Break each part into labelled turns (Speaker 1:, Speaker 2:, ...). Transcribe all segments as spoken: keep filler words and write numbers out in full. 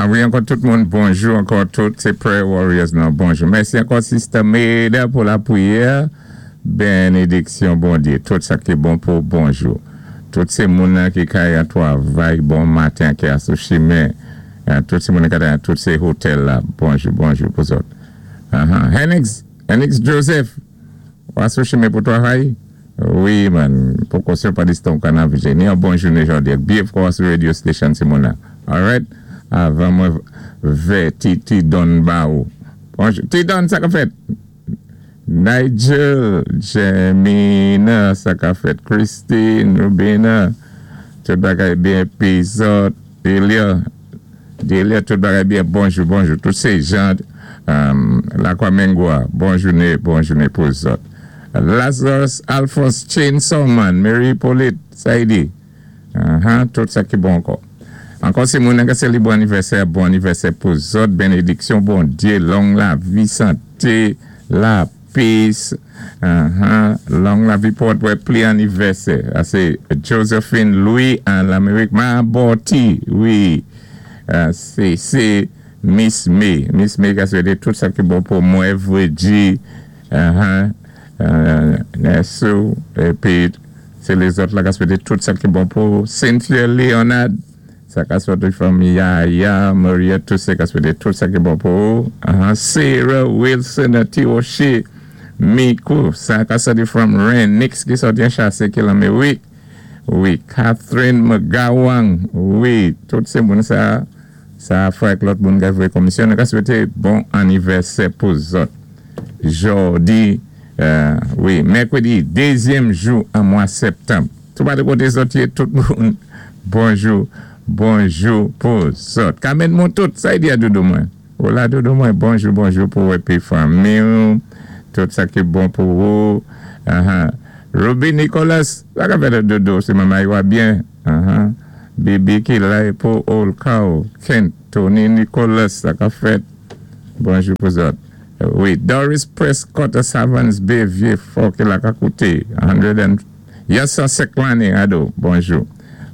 Speaker 1: Ah wi, ankò tout moun, bonjou, ankò tout sé Prayer Warriors nan, bonjou. Mèsi ankò Sister Maida pou lapwiyè. Bénédiksyon Bondyé, tout sa ki bon pou bonjou. Tout sé moun ki kay an twavay, bon maten ki sou chimen. Tout sé moun ki an tout sé hotèl la, bonjou, bonjou pou zòt. Uh-huh. Henix, Henix Joseph, ou sou chimen pou twavay? Wi, man, pou kosyon pa diston kanav ni yon bon jounen jòdi. Byen fò sou radio station sé moun All right? Avan mwen vè ti ti Don ba ou. Bonjou. Ti Don, sa ka fèt? Nigel, Jemina, sa ka fèt. Christine, Rubina, tout bagay byen Pizot, Delia, Delia, tout bagay byen. Bonjou, bonjou. Tout sé jan, um, Lakwa Mengwa, bon jounen, bon jounen pou zòt. Lazarus Alphonse Chainsaw Man, Mary Paulette, Saidi. Uh-huh, tout sa ki bon ankò. Ankò sé moun ki sé bon anivèsè, bon anivèsè pou zòt, bénédiksyon, Bondyé, long lavi, santé, lapè, uh-huh, long lavi pou wè pli anivèsè. Ah, sé Josephine Louis an Lamérik, Maboti, wi, uh, sé sé Miss May, Miss May ki swété tout sa ki bon pou mwen, Vréji, uh-huh, uh, Nessou, épi sé lézòt la ki swété tout sa ki bon pou Cynthia Leonard, sa ka swété fanmi Yaya, Maria, tout sa ka swété tout sa ki bon pou uh-huh. Sarah Wilson, Tiwoché, Mikou, sa ka swété from Renix ki sòti an chasé ki Lamérik. Wi, Catherine McGowan, wi, tout sé moun sa, sa frè lòt moun ka fè komisyon, ka swété bon anivèsè pou zòt. Jòdi, euh, wi, mèkwédi, dézyèm jou an mwa septanm. Tout pa de koté zòt tout moun, bonjou, bonjou pou zòt. Kamen moun tout, sa y di a doudou mwen. Ola doudou mwen, bonjou, bonjou pou épi fanmi, tout sa ki bon pou ou. Uh-huh. Ruby Nicholas, sa ka fèt doudou, si manman wa byen. Uh-huh. Bibi ki la pou Old Cow, Kent, Tony Nicholas, sa ka fèt. Bonjou pou zòt. Wi, Doris Prescott, Savans Bay, Vieux Fort, ki la ka kouté. hundred and, yes, san senk lanné, ado, bonjou.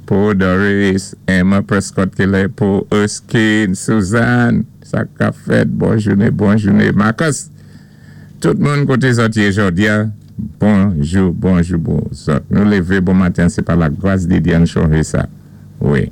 Speaker 1: Pou Doris, Emma Prescott ki la pou Erskine, Suzanne, sa ka fèt, bon jounen, bon jounen. Marcus, tout moun koté zòt yé jòdi a, bonjou, bonjou, bon zòt. Nou lévé bon maten, sé pa la gras de Dye an chonjé sa. Wi.